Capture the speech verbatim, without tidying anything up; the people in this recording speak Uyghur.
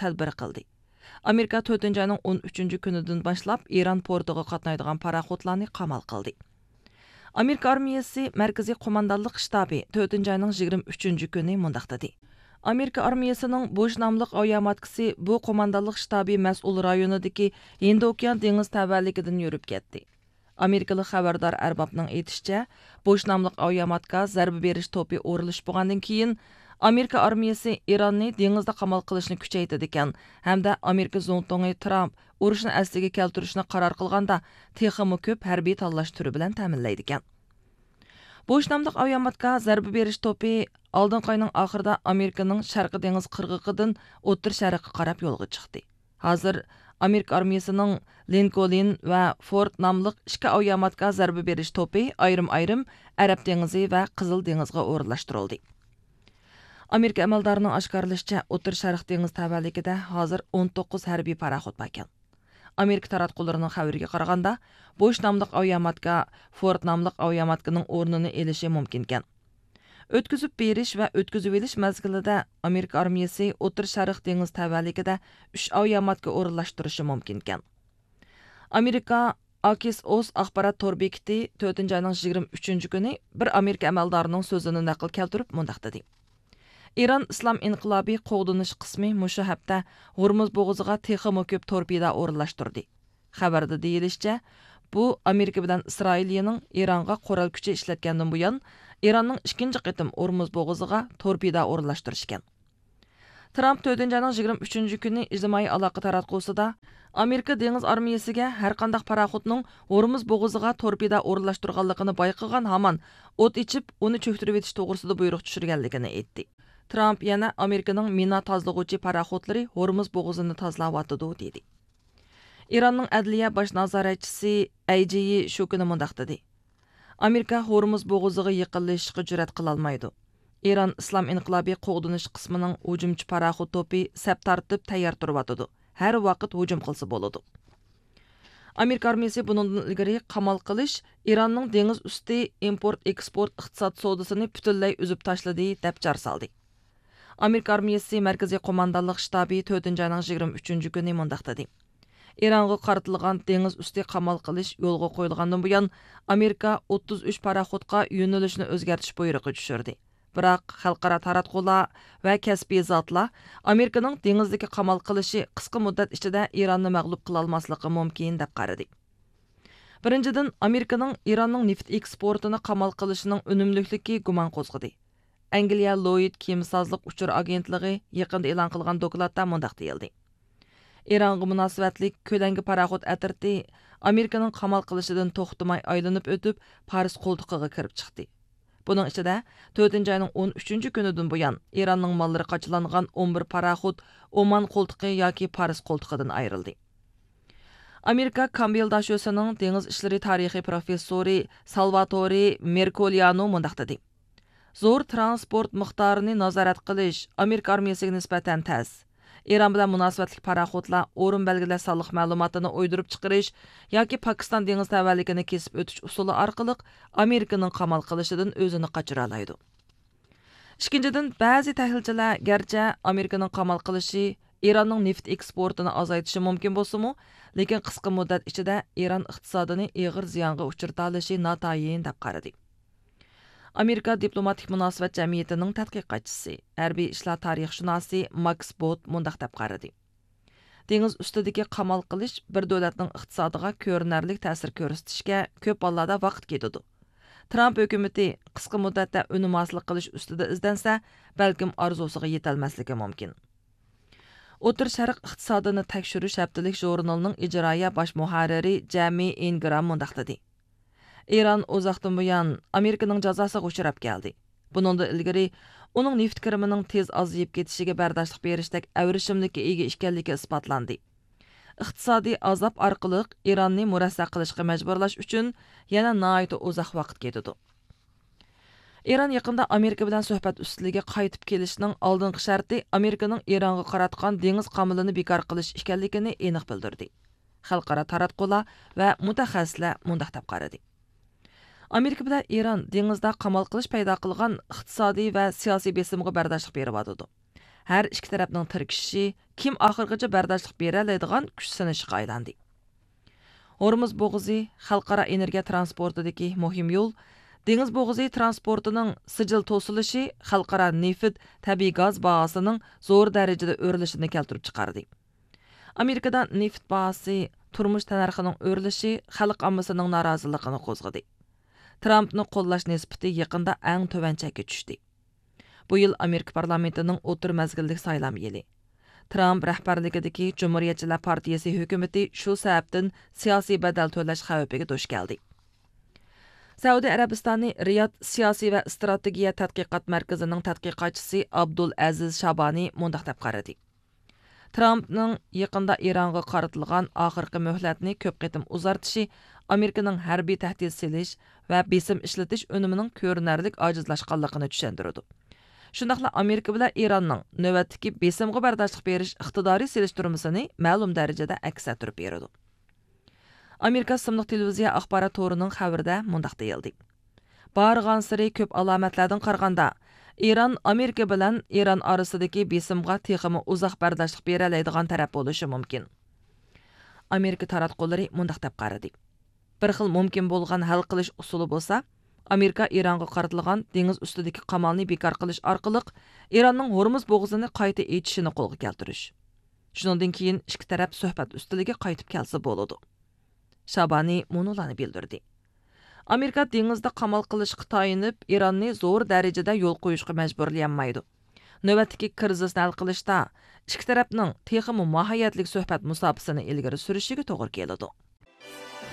تەدبىر قىلدى. ئامېرىكا تۆتىنچى ئاينىڭ ئون ئۈچىنچى كۈنىدىن باشلاپ ئىران پورتىغا قاتنايدىغان پاراخوتلارنى قامال قىلدى. ئامېرىكا ئارمىيىسى مەركىزىي قوماندانلىق شتابى تۆتىنچى ئاينىڭ يىگىرمە ئۈچىنچى كۈنى مۇنداق دېدى: ئامېرىكا ئارمىيىسىنىڭ بوش ناملىق ئاۋىياماتكىسى بۇ قوماندانلىق شتابى مەسئۇل رايونىدىكى ھىندى ئوكيان دېڭىز تەۋەلىكىدىن يۈرۈپ كەتتى. ئامېرىكىلىق خەۋەردار ئەربابنىڭ ئېيتىشىچە، بوش ناملىق ئاۋىياماتكا زەربە بېرىش توپى ئورۇنلىشىپ بولغاندىن كېيىن، ئامېرىكا ئارمىيىسى ئىراننى دېڭىزدا قامال قىلىشنى كۈچەيتىدىكەن ھەمدە ئامېرىكا زۇڭتۇڭى ترامپ ئۇرۇشنى ئەسلىگە كەلتۈرۈشنى قارار قىلغاندا، تېخىمۇ كۆپ ھەربىي تاللاش تۈرى بىلەن تەمىنلەيدىكەن. بوش ناملىق ئاۋىياماتكا زەربە بېرىش توپى ئالدىنقى ئاينىڭ ئاخىرىدا ئامېرىكىنىڭ شەرقىي دېڭىز قىرغىقىدىن ئوتتۇرا شەرققە قاراپ يولغا چىقتى. ھازىر ئامېرىكا ئارمىيىسىنىڭ لىنكولن ۋە فورد ناملىق ئىككى ئاۋىياماتكا زەربە بېرىش توپى ئايرىم-ئايرىم ئەرەب دېڭىزى ۋە قىزىل دېڭىزغا ئورۇنلاشتۇرۇلدى. ئامېرىكا ئەمەلدارىنىڭ ئاشكارىلىشىچە، ئوتتۇرا شەرق دېڭىز تەۋەلىكىدە ھازىر ئون توققۇز ھەربىي پاراخوت باركەن. ئامېرىكا تاراتقۇلىرىنىڭ خەۋىرىگە قارىغاندا، بوش ناملىق ئاۋىياماتكا فورد ناملىق ئاۋىياماتكىنىڭ ئورنىنى ئېلىشى مۇمكىنكەن. ئۆتكۈزۈپ بېرىش ۋە ئۆتكۈزۈۋېلىش مەزگىلىدە ئامېرىكا ئارمىيىسى ئوتتۇرا شەرق دېڭىز تەۋەلىكىدە ئۈچ ئاۋىياماتكا ئورۇنلاشتۇرۇشى مۇمكىنكەن. ئامېرىكا ئاكسىئوس ئاخبارات تور بېكىتى تۆتىنچى ئاينىڭ يىگىرمە ئۈچىنچى كۈنى بىر ئامېرىكا ئەمەلدارىنىڭ سۆزىنى نەقىل كەلتۈرۈپ مۇنداق دېدى: ئىران ئىسلام ئىنقىلابى قوغدىنىش قىسمى مۇشۇ ھەپتە ھورمۇز بوغۇزىغا تېخىمۇ كۆپ تورپېدا ئورۇنلاشتۇردى. خەۋەردە دېيىلىشىچە، بۇ ئامېرىكا بىلەن ئىسرائىلىيىنىڭ ئىرانغا قورال كۈچى ئىشلەتكەندىن بۇيان، ئىراننىڭ ئىككىنچى قېتىم ئورمۇز بوغۇزىغا تورپېدا ئورۇنلاشتۇرۇشى ئىكەن. ترامپ تۆتىنچى ئاينىڭ يىگىرمە ئۈچىنچى كۈنى ئىجتىمائىي ئالاقە تاراتقۇسىدا، ئامېرىكا دېڭىز ئارمىيىسىگە ھەرقانداق پاراخوتنىڭ ھورمۇز بوغۇزىغا تورپېدا ئورۇنلاشتۇرغانلىقىنى بايقىغان ھامان ئوت ئېچىپ، ئۇنى چۆكتۈرۈۋېتىش توغرىسىدا بۇيرۇق چۈشۈرگەنلىكىنى ئېيتتى. ترامپ يەنە ئامېرىكىنىڭ مىنا تازىلىغۇچى پاراخوتلىرى ھورمۇز بوغۇزىنى تازىلاۋاتىدۇ، دېدى. ئىراننىڭ ئەدلىيە باش نازارەتچىسى ئەيجىيى شۇ كۈنى مۇنداق دېدى: ئامېرىكا ھورمۇز بوغۇزىغا يېقىنلىشىشقا جۈرئەت قىلالمايدۇ. ئىران ئىسلام ئىنقىلابى قوغدىنىش قىسمىنىڭ ھۇجۇمچى پاراخوت توپى سەپ تارتىپ تەييار تۇرۇۋاتىدۇ. ھەر ۋاقىت ھۇجۇم قىلسا بولىدۇ. ئامېرىكا ئارمىيىسى بۇنىڭدىن ئىلگىرى قامال قىلىش ئىراننىڭ دېڭىز ئۈستى ئىمپورت ئېكسپورت ئىقتىساد سودىسىنى پۈتۈنلەي ئۈزۈپ تاشلىدى، دەپ جار سالدى. ئامېرىكا ئارمىيىسى مەركىزىي قوماندانلىق شتابى تۆتىنچى ئاينىڭ يىگىرمە ئۈچىنچى كۈنى مۇنداق دېدى: ئىرانغا قارىتىلغان دېڭىز ئۈستى قامال قىلىش يولغا قويۇلغاندىن بۇيان، ئامېرىكا ئوتتۇز ئۈچ پاراخوتقا يۆنىلىشنى ئۆزگەرتىش بۇيرۇقى چۈشۈردى. بىراق، خەلقئارا تاراتقۇلار ۋە كەسپىي زاتلار ئامېرىكىنىڭ دېڭىزدىكى قامال قىلىشى قىسقا مۇددەت ئىچىدە ئىراننى مەغلۇپ قىلالماسلىقى مۇمكىن، دەپ قارىدى. بىرىنچىدىن، ئامېرىكىنىڭ ئىراننىڭ نېفىت ئېكسپورتىنى قامال قىلىشىنىڭ ئۈنۈملۈكلۈكى گۇمان قوزغىدى. ئەنگلىيە لويد كېمىسازلىق ئۇچۇر ئاگېنتلىقى يېقىندا ئېلان قىلغان دوكلاتتا مۇنداق دېيىلدى: ئىرانغا مۇناسىۋەتلىك كۆلەڭگە پاراخوت ئەترىتى ئامېرىكىنىڭ قامال قىلىشىدىن توختىماي ئايلىنىپ ئۆتۈپ، پارس قولتۇقىغا كىرىپ چىقتى. بۇنىڭ ئىچىدە، تۆتىنچى ئاينىڭ ئون ئۈچىنچى كۈنىدىن بۇيان، ئىراننىڭ ماللىرى قاچىلانغان ئون بىر پاراخوت ئومان قولتۇقى ياكى پارس قولتۇقىدىن ئايرىلدى. ئامېرىكا كامبېل داشۆسىنىڭ دېڭىز ئىشلىرى تارىخى پروفېسسورى سالۋاتورى مېركوليانو مۇنداق دېدى: زور تىرانسپورت مىقدارىنى نازارەت قىلىش ئامېرىكا ئارمىيىسىگە نىسبەتەن تەس. ئىران بىلەن مۇناسىۋەتلىك پاراخوتلار ئورۇن بەلگىلەش سانلىق مەلۇماتىنى ئويدۇرۇپ چىقىرىش ياكى پاكىستان دېڭىز تەۋەلىكىنى كېسىپ ئۆتۈش ئۇسۇلى ئارقىلىق ئامېرىكىنىڭ قامال قىلىشىدىن ئۆزىنى قاچۇرالايدۇ. ئىككىنچىدىن، بەزى تەھلىلچىلەر گەرچە ئامېرىكىنىڭ قامال قىلىشى ئىراننىڭ نېفىت ئېكسپورتىنى ئازايتىشى مۇمكىن بولسىمۇ، لېكىن قىسقا مۇددەت ئىچىدە ئىران ئىقتىسادىنى ئېغىر زىيانغا ئۇچرىتالىشى ناتايىن، دەپ قارىدى. ئامېرىكا دىپلوماتىك مۇناسىۋەت جەمئىيىتىنىڭ تەتقىقاتچىسى، ھەربىي ئىشلار تارىخشۇناسى ماكس بوت مۇنداق دەپ قارىدى: دېڭىز ئۈستىدىكى قامال قىلىش بىر دۆلەتنىڭ ئىقتىسادىغا كۆرۈنەرلىك تەسىر كۆرسىتىشكە كۆپ ھاللاردا ۋاقىت كېتىدۇ. ترامپ ھۆكۈمىتى قىسقا مۇددەتتە ئۈنۈم ھاسىل قىلىش ئۈستىدە ئىزدەنسە، بەلكىم ئارزۇسىغا يېتەلمەسلىكى مۇمكىن. ئوتتۇرا شەرق ئىقتىسادىنى تەكشۈرۈش ھەپتىلىك ژۇرنىلىنىڭ ئىجرائىيە باش مۇھەررىرى جەمى ئىنگرام مۇنداق دېدى: ئىران ئۇزاقتىن بۇيان ئامېرىكىنىڭ جازاسىغا ئۇچراپ كەلدى. بۇنىڭدىن ئىلگىرى ئۇنىڭ نېفىت كىرىمىنىڭ تېز ئازىيىپ كېتىشىگە بەرداشلىق بېرىشتەك ئەۋرىشىملىككە ئىگە ئىكەنلىكى ئىسپاتلاندى. ئىقتىسادىي ئازاب ئارقىلىق ئىراننى مۇرەسسە قىلىشقا مەجبۇرلاش ئۈچۈن يەنە ناھايىتى ئۇزاق ۋاقىت كېتىدۇ. ئىران يېقىندا ئامېرىكا بىلەن سۆھبەت ئۈستىلىگە قايتىپ كېلىشنىڭ ئالدىنقى شەرتى ئامېرىكىنىڭ ئىرانغا قاراتقان دېڭىز قامىلىنى بىكار قىلىش ئىكەنلىكىنى ئېنىق بىلدۈردى. خەلقئارا تاراتقۇلار ۋە مۇتەخەسسىسلەر مۇنداق دەپ قارىدى: ئامېرىكا بىلەن ئىران دېڭىزدا قامال قىلىش پەيدا قىلغان ئىقتىسادىي ۋە سىياسىي بېسىمغا بەرداشلىق بېرىۋاتىدۇ. ھەر ئىككى تەرەپنىڭ تىركىشىشى، كىم ئاخىرغىچە بەرداشلىق بېرەلەيدىغان كۈچ سىنىشىغا ئايلاندى. ھورمۇز بوغۇزى خەلقئارا ئېنېرگىيە ترانسپورتىدىكى مۇھىم يول، دېڭىز بوغۇزى ترانسپورتىنىڭ سىجىل توسۇلۇشى خەلقئارا نېفىت، تەبىئىي گاز باھاسىنىڭ زور دەرىجىدە ئۆرلىشىنى كەلتۈرۈپ چىقاردى. ئامېرىكىدا نېفىت باھاسى تۇرمۇش تەننەرخىنىڭ ئۆرلىشى خەلق ئاممىسىنىڭ نارازىلىقىنى قوزغىدى. ترامپنى قوللاش نىسبىتى يېقىندا ئەڭ تۆۋەن چەككە چۈشتى. بۇ يىل ئامېرىكا پارلامېنتىنىڭ ئوتتۇرا مەزگىللىك سايلام يىلى. ترامپ رەھبەرلىكىدىكى جۇمھۇرىيەتچىلەر پارتىيىسى ھۆكۈمىتى شۇ سەۋەبتىن سىياسىي بەدەل تۆلەش خەۋپىگە دۇچ كەلدى. سەئۇدى ئەرەبىستانى رىياد سىياسىي ۋە ئىستراتېگىيە تەتقىقات مەركىزىنىڭ تەتقىقاتچىسى ئابدۇل ئەزىز شابانى مۇنداق دەپ قارىدى: ترامپنىڭ يېقىندا ئىرانغا قارىتىلغان ئاخىرقى مۆھلەتنى كۆپ قېتىم ئۇزارتىشى ئامېرىكىنىڭ ھەربىي تەھدىت سېلىش ۋە بېسىم ئىشلىتىش ئۈنۈمىنىڭ كۆرۈنەرلىك ئاجىزلاشقانلىقىنى چۈشەندۈرىدۇ. شۇنداقلا ئامېرىكا بىلەن ئىراننىڭ نۆۋەتتىكى بېسىمغا بەرداشلىق بېرىش ئىقتىدارى سېلىشتۇرمىسىنى مەلۇم دەرىجىدە ئەكس ئەتتۈرۈپ بېرىدۇ. ئامېرىكا ئىسىملىق تېلېۋىزىيە ئاخبارات تورىنىڭ خەۋىرىدە مۇنداق دېيىلدى: بارغانسېرى كۆپ ئالامەتلەردىن قارىغاندا، ئىران ئامېرىكا بىلەن ئىران ئارىسىدىكى بېسىمغا تېخىمۇ ئۇزاق بەرداشلىق بېرەلەيدىغان تەرەپ بولۇشى مۇمكىن. ئامېرىكا تاراتقۇلىرى مۇنداق دەپ قارىدى: بىر خىل مۇمكىن بولغان ھەل قىلىش ئۇسۇلى بولسا، ئامېرىكا ئىرانغا قارىتىلغان دېڭىز ئۈستىدىكى قامالنى بىكار قىلىش ئارقىلىق ئىراننىڭ ھورمۇز بوغۇزىنى قايتا ئېچىشىنى قولغا كەلتۈرۈش. شۇنىڭدىن كېيىن ئىككى تەرەپ سۆھبەت ئۈستىلىگە قايتىپ كەلسە بولىدۇ. شابانى مۇنۇلارنى بىلدۈردى: ئامېرىكا دېڭىزدا قامال قىلىشقا تايىنىپ، ئىراننى زور دەرىجىدە يول قويۇشقا مەجبۇرلىيالمايدۇ. نۆۋەتتىكى كىرىزىسنى ھەل قىلىشتا ئىككى تەرەپنىڭ تېخىمۇ ماھىيەتلىك سۆھبەت مۇساپىسىنى ئىلگىرى سۈرۈشىگە توغرا كېلىدۇ.